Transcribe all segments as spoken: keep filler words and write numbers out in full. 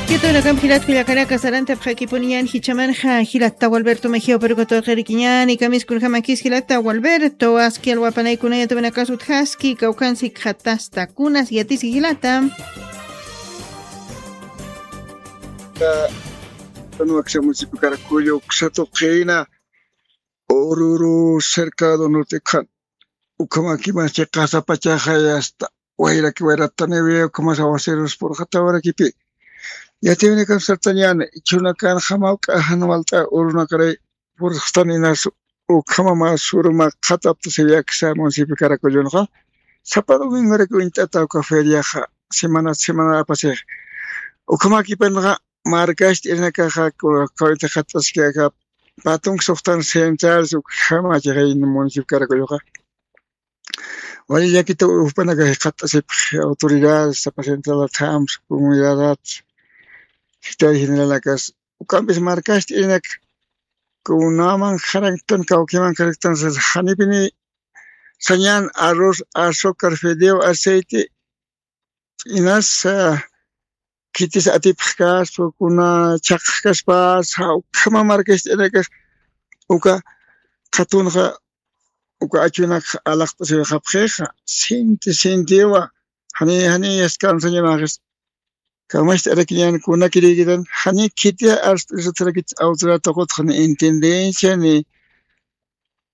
Kitunakampi jilat kullakanaka, sarantapxakipuniñan jichhamanxa jilata Gualberto Mejía Operuka tuqirikiñani, kamiskunjamakis jilata Gualberto, aski alwapanaykunaya tuwinakas utjaski, kawkhansi khatasta kunas yatisi jilata. Ka-, Kanuaksa municipio Caracollo uksa tuqina Oruro cercado norte khan. Ukhamakimasti qasa pachaxa hasta wayraki wayrataniwi, ukhamas aguaceros purxatawarakipi. Yatiwinakan sartañäni, ichhunakan jamawk'a jan walt'a urunakaray purxtan inas ukhama mä suruma qhataptasiwi aksa municipio Caracollonxa. Sapa domingorak uñt'ata uka feriaxa, semana, semana apasixa. Ukhamakipanxa markasti irinakaxa, ku-, kawita qhat'askaka, patunk suxtan central, ukhama chixay municipio Caracolloxa. Wali llakita jupanakax qhat'asipxi autoridades, sapa central thams, comunidad, secretario generalakas, ukampis markasti irinaka, kunaman jaraktan, kawkiman jaraktan, sas janipini sañan arroz, azúcar, fideo, aceite, inas, ah, khitis atipxkaspa, kuna chhaqxkaspas, ukhama markasti irinakax, uka qhatunxa, uka achunak alaqt'asiwayxapxixa, sinti, sintiwa, jani, jani, yaskan sañamaxis. Kamast'arakiñan kunakirikitan, jani khiti arst'isutrakit autoridad tuqutxa, ni intendencia, ni,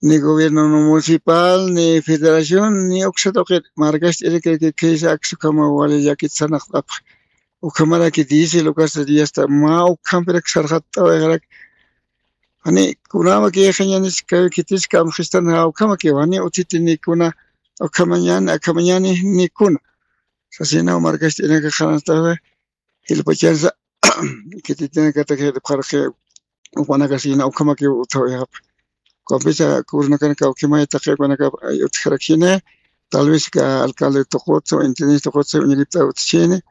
ni gobierno municipal, ni federación, ni uksa tuqit, markast'irikirki khisa aksa ukhama wali llakit sarnaqt'apxi. Ukhamaraki diésel, ukasa diasta, mä ukhampirak sarxatt'awayxarak. Jani, kunamakixa ñanis, kay khitis kamxistan, ukhamaki, jani, utjiti ni kuna, ukhamañani, akhamañani, ni kuna. Sasinaw markast'irinaka qhananstaxa, jilpachansa, khititinakataki jilpxaraki, upanakasina, ukhamaki utjawayxapxi. Ukampisa, kurunakanaka, ukhamay taqi upanaka, ay, utjarakini, tal vez ka alcalde tuqutsa, intendente tuqutsa, uñiripta utjini,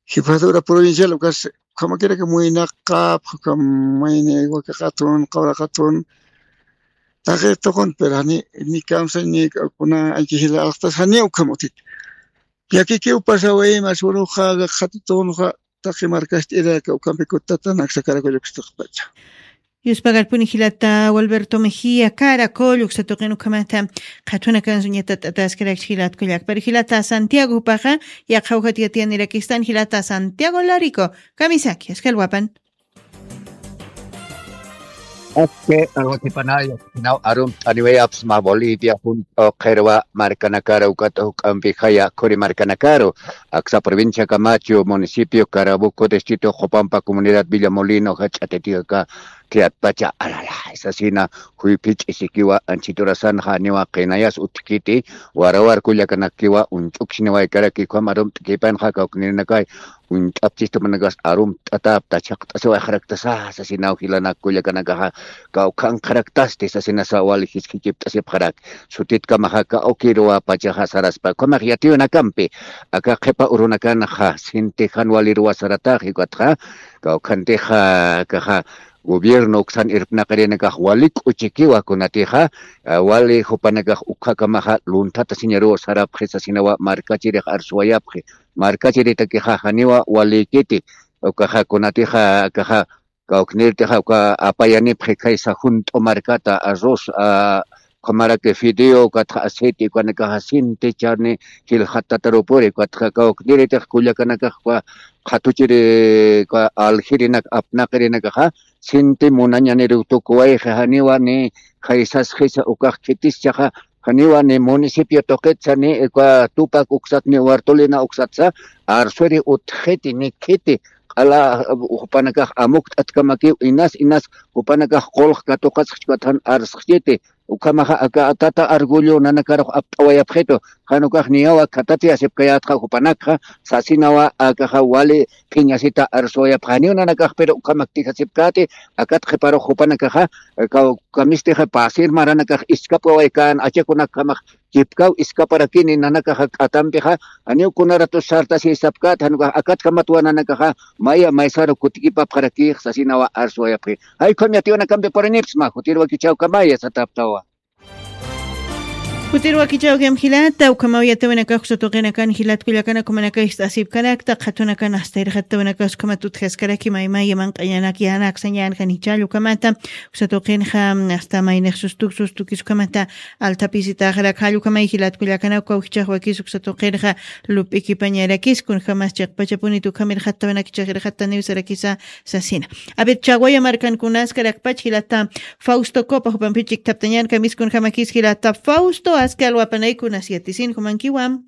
jefatura provincial, ukas, ukhamakiraka muynaqapxi, ukhamayni, waka qhatun, qawra qhatun, taqi tuqun, pero jani, ni kamsa, ni kuna, anchi jila alxtas, jani, ukham utjit. Llakikiw pasawayma, suruxa, qhatutunxa, taqi markast'iraka, ukampi kutatan aksa Caracollo uksa tuqpacha. Yuspagarpuni jilata Gualberto Mejía, Caracollo uksa tuqin ukhamata, qhatunakansa uñatat t'ataskarakchi jilat kullaka. Pero jilata Santiago jupaxa, yaqha ujat yatiyanirakistan jilata Santiago Larico, kamisaki, aski alwapan. Aski alwakipanaya, sinaw arumt'aniwayapxsma Bolivia junt'u qhirwa markanakaru, ukat juk'ampixaya khuri markanakaru, aksa provincia Camacho, municipio Carabuco, distrito Copampa, comunidad Villamolino, jach'a Titicaca, khiyatpacha, alala, sasina, juyphi ch'isikiwa, anchhit urasanxa, janiwa qinayas utjkiti, warawar kullakanakiwa, uñch'uksiniwaykaraki, ukham arumt'kipanxa, kawknirinakay, uñt'apchistapanakas arumt'atapta, chhaqt'asiwayxaraktasa, sasinaw jilanak kullakanakaxa, kawkhanqharaktasti, sasinasa wali jisk'ichipt'asipxarak. Sutitkamaxa, kawkiruwa pachaxa saraspa, ukhamax yatiyunakampi, aka qhipa urunakanxa, sinti jan waliruwa saratax, ukatxa, kawkhantixa, akaxa, gobierno uksan irpnaqirinakax wali k'uchikiwa kunatixa, ah, wali jupanakax ukkhakamaxa lunthatasiñaruw sarapxi sasinawa markachirix arsuwayapxi. Markachiritakixa janiwa walikiti, ukaxa kunatixa, akaxa, kawknirtixa uka apayanipxi khaysa junt'u markata, arroz, ah, ukhamaraki fideo, ukatxa aceite, ukanakaxa sinti charni jilxatatarupuri, ukatxa kawkniritix kullakanakax uka qhatuchiri, uka aljirinak apnaqirinakaxa, sinti munañaniruw tukuwayxi, janiwa ni khaysasxisa ukax khitischaxa, janiwa ni municipio tuqitsa ni uka Tupac uksat ni Huartolina uksatsa, arsuiri utjxiti ni khiti, q'ala jupanakax amukt'atkamakiw inas inas jupanakax qulq katuqasxchi ukat jan arsxchiti, ukhamaxa aka tata Argüello nanakarux apt'awayapxitu, jan ukax niyawa khatatiyasipkayätxa jupanakxa, sasinawa akaxa wali phiñasita arsuwayapxa, janiw nanakax pero ukhamaktixasipkäti, akat qhiparux jupanakaxa, kaw-, kamistixa pasir maranakax iskapkawaykan, achakunakjamax chipkaw iskaparakini, nanakaxa k'atampixa, janiw kuna ratus sartasi sapkät, jan ukax akatjamatwa nanakaxa, maya maysaru kutikipapxarakix, sasinawa arsuwayapxi. Jay ukham yatiyunakampi purinipxsma, jutir wakichäwkamaya sataptawa. Kutirwakichawkam jilata, ukhamaw yatawinakax uksa tuqinakan jilat kullakanak umanakax ist'asipkarakta, qhatunakan asta irxattawinakax ukhamat utjaskarakim aymaya manq'añanak yanak sañankan jichhall ukhamata, uksa tuqinxa asta maynix sustuk sustukis ukhamata, altapisitaxarak jall ukhamay jilat kullakanak ukaw jichhax wakis uksa tuqinxa lup'ikipañarakis kunjamas chiqpachapunit ukham irxattawinakchix irxattaniw sarakisa sasina. A ver, Chaguaya markankunaskarakpach jilata Fausto Copa, jupampi chikthaptañan kamiskunjamakis jilata Fausto, aski alwapanaykunas yatisin jumankiwa.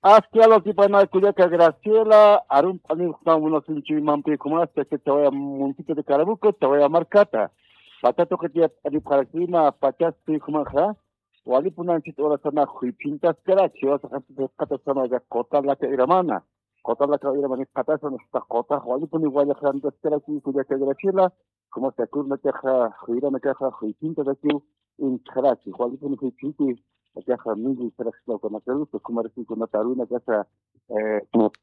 Aski alwakipanay kullaka Graciela, arump'aniw jukam munasinchuymampi jumas, chaka Chaguaya municipio de Carabuco, Chaguaya markata. Pacha tuqitiyat alipxarakima, pachaspi jumanxa, walipunanchit urasana juyphintaskaraki, jiwasa qanchita qatasanaka quta laka iramana. Quta laka iramana qatasan, hasta quta walipuni wallaqrantaskaraki, kullaka Graciela, como se acuerda que ja, juyranakaxa juyphintasakiw inchxaraki, walipuni juyphinti, akaxa milli saraxsnawkanakarusa, kumarasikunata arunakasa, eh,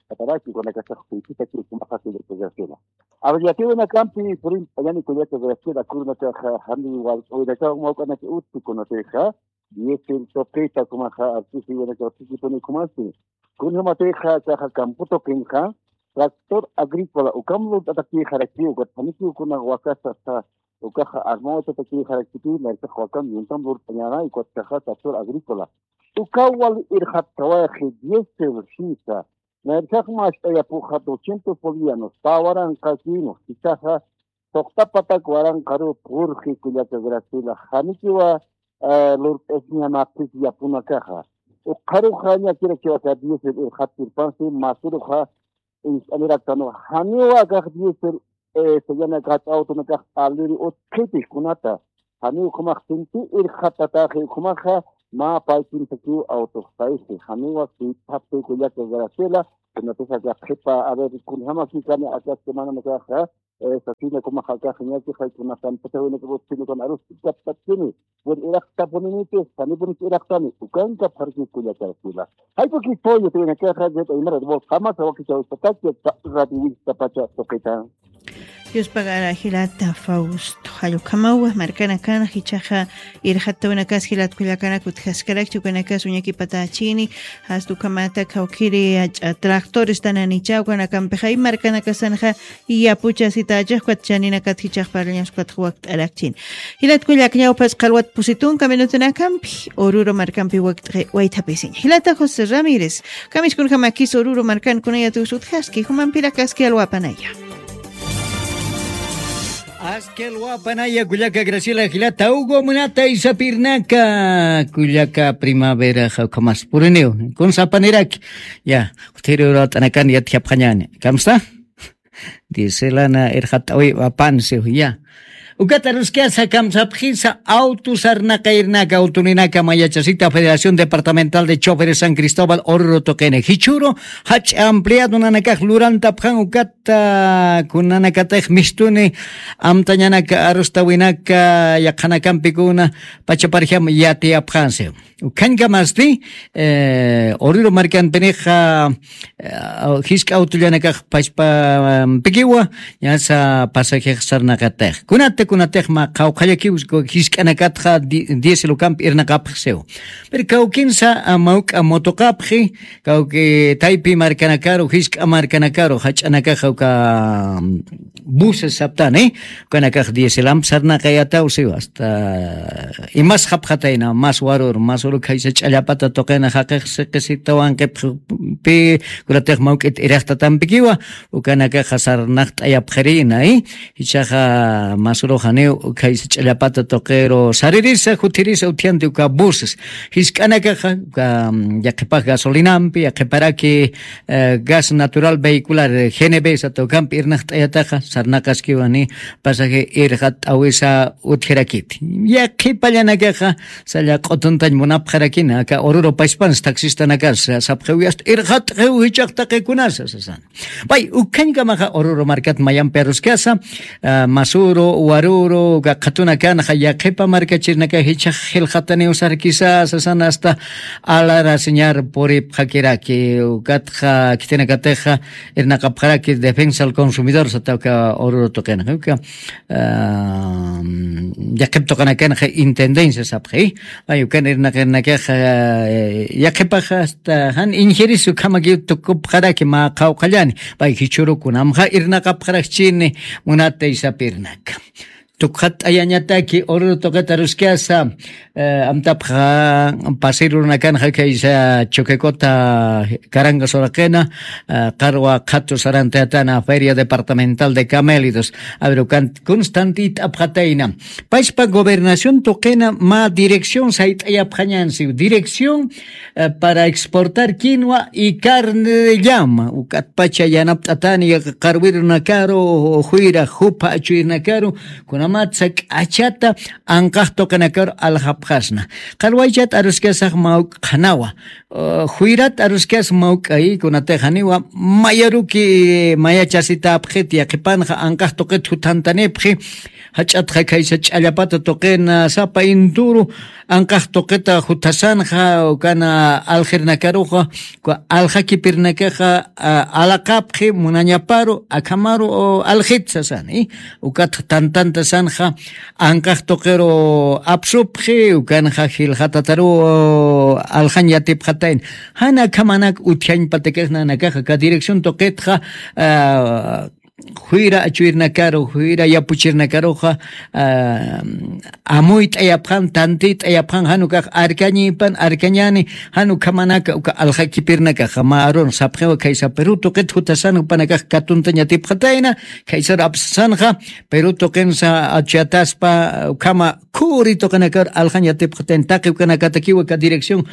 kataraki, kunakasa juyphitakiw, kumaxa kullaka Graciela. A ver, yatiwinakampi, purin, ayani kullaka Graciela, kurunakaxa, jani walq'awinakaw mawk'anaki utji kunatixa, diésel tuqita kumaxa artisiwanakaw tukipuni kumasi. Kunjamatixa akaxa campo tuqinxa, tractor agrícola, ukam lurt'atakïxaraki, ukat janikiw kuna wakasa, ukaxa armawatatakïxarakiti, maysax wakam yuntam lurt'añäna, ukat akaxa tractor agrícola. Ukaw wali irxattawayxi, diésel sisa. Maysax mast'ayapuxa doscientos bolivianos, pä waranqakiw, jichhaxa, suxta patak waranqaruw purxi kullaka Graciela, janikiwa, eh, lurt'asiñanapis yapunakaxa. Ukxaruxa ñakirakiw aka diésel irxatirpansi, masuruxa ist'aniraktanwa. Janiwa akax diésel, eh, sayanakax autonakax aliri utjiti kunata. Janiw jumax sinti irxatataxi jumaxa, mä paypintakiw autoxtaysi. Janiwa sitxapti kullaka Graciela, kunatix aka qhipa, a ver, kunjamakikani aka semananakaxa, eh, sasina kumaxa akax ñakixay kunatan patawinakax utjini, kuna arus kaptatini. Bueno, iraqtapuninitis, janipunix iraqtani, ukankapxarki kullaka Graciela. Jayp'uki pollo, tuwinakaxa, jet aymara, voz, jamás, awakichaw, pataki, radio, pacha, tuqita. Dios pagara jilata Fausto, jall ukhamawa, markanakan, jichhaxa, irxattawinakas, jilat kullakanak utjaskarakchi, ukanakas, uñakipatachini, hasta ukhamata, kawkiri, ach'a, tractores, tananicha, ukanakampixay, markanakasanxa, yapuchasitachax, ukat chaninakat, jichhax parlañas, ukat wakt'arakchin. Jilat kullak ñawpas qallwat pusi tunka minutunakampi, Oruro markampi wakt'ay waythapisiñ. Jilata José Ramírez, kamiskunjamakis Oruro markankunayat utjaski, jumampirakaski alwapanaya. Aski alwapanaya kullaka Graciela, jilata Hugo, munata Isapirnaka, kullaka Primavera, jawkhamas puriniw, kunsapaniraki, ya, utjiri urat'anakan yatjapxañani, kamsa? Dieselana irxat'awi wapansiw, ya. Ukata ruskasa kamsapxisa auto sarnaqayrnaka, autoninaka mayachasita Federación Departamental de Choferes San Cristóbal Oruro tuqini. Jichhüru jach'a ampliado nanakax lurantapxan ukata kunanakatix mistuni amtañanaka arustawinaka yaqhanakampikuna pachaparjam yatiyapxansiw. Ukhañkamasti, eh, Oruro markanpinixa, eh, jisk'a autollanakax pachpampikiwa, ñasa pasajex sarnaqatix. Kunata, kunatix mä qawqhallakiw, jisk'anakatxa di-, diésel ukampi irnaqapxsiw. Pero kawkinsa, ah, mawk'a motoqapxi, kawki taypi markanakaru, jisk'a markanakaru, jach'anakaxa uka, mm, buses saptani, ukanakax dieselamp sarnaqayataw siw, hasta imas japxatayna, mas warur, mas uru khaysa ch'allapata tuqina jaqix siqisitawanqipxpi, kunatix mawk'it iraqtatampikiwa, ukanakaxa sarnaqt'ayapxirïna, i jichhaxa mas uruxaniw khaysa ch'allapata tuqiru saririsa, juthirisa utjianti uka buses. Jisk'anakaxa, uka, mm, yaqhipax gasolinampi, yaqhiparaki, eh, gas natural vehicular, eh, G N V sata ukampi irnaqt'ayataxa, sarnaqaskiwani pasaje irxat'awisa utjirakiti. Yaqhipallanakaxa, salla q'utuntañ munapxarakina, aka Oruro pachpans taxistanakas, sapxiwi hasta irxat'xiw jichhax taqikunasa, sasan. Pay, ukhañkamaxa Oruro markat mayampi aruskasa, ah, masuru, waru, Uru, uka qhatunakanxa yaqhipa markachirnaka jichhax jilxataniw sarkisa sasan hasta alarasiñar puripxakiraki. Ukatxa khitinakatixa irnaqapxaraki defensa al consumidor sata uka Oruro tuqinxa uka, ah, yaqhip tuqinakanxa intendencia sapxi. Ay ukan irnaqirnakaxa, eh, yaqhipaxa hasta jan injirisu ukhamakiw tukupxaraki mä qhawqhallani. Pay jichhüru kunamxa irnaqapxarakchini munatay sapirnaka. Tukxatt'ayañataki Oruro tuqita aruskasa, eh, amtapxa pasir urunakanxa khaysa Chuquicota, Carangas uraqina, eh, qarwa qhatu sarantayatana Feria Departamental de Camélidos. A ver, ukan kunstantit'apxatayna. Payspa gobernación tuqina mä dirección sayt'ayapxañansi. Dirección, eh, para exportar quinua y carne de llama. Ukatpacha yanapt'atani qarwirunakaru, juyra jupha achuyrnakaru, kunamatsa k'achata anqax tuqinakaru aljapxasna. Qarwaychat aruskasax mawk'anawa. Uh, juyrat aruskas mawk'ay kunatix janiwa mayaruki mayachasitapxit yaqhipanxa anqax tuqit juthantanipxi. Jach'atxa khaysa ch'allapata tuqina sapa inturu anqax tuqita juthasanxa ukana aljirnakaruxa, uka aljakipirnakaxa, a, alaqapxi munañaparu akhamaru, o, aljit sasani. Ukatxa tantantasanxa anqax tuqiru apsupxi ukanxa jilxatataru aljañ yatipxatayn. Jan akhamanak utjañpatakix nanakaxa aka dirección tuqitxa, ah, juyra achuyrnakaru juyra yapuchirnakaruxa, ah, amuyt'ayapxan tantit'ayapxan jan ukax arkañipan arkañani. Jan ukhamanaka uka aljakipirnakaxa mä arun sapxiwa khaysa Perú tuqit jutasan jupanakax katuntañ yatipxatayna. Khaysar apsasanxa Perú tuqinsa achuyataspa ukhama khuri tuqinakar aljañ yatipxatayn taqi ukanakatakiwa aka dirección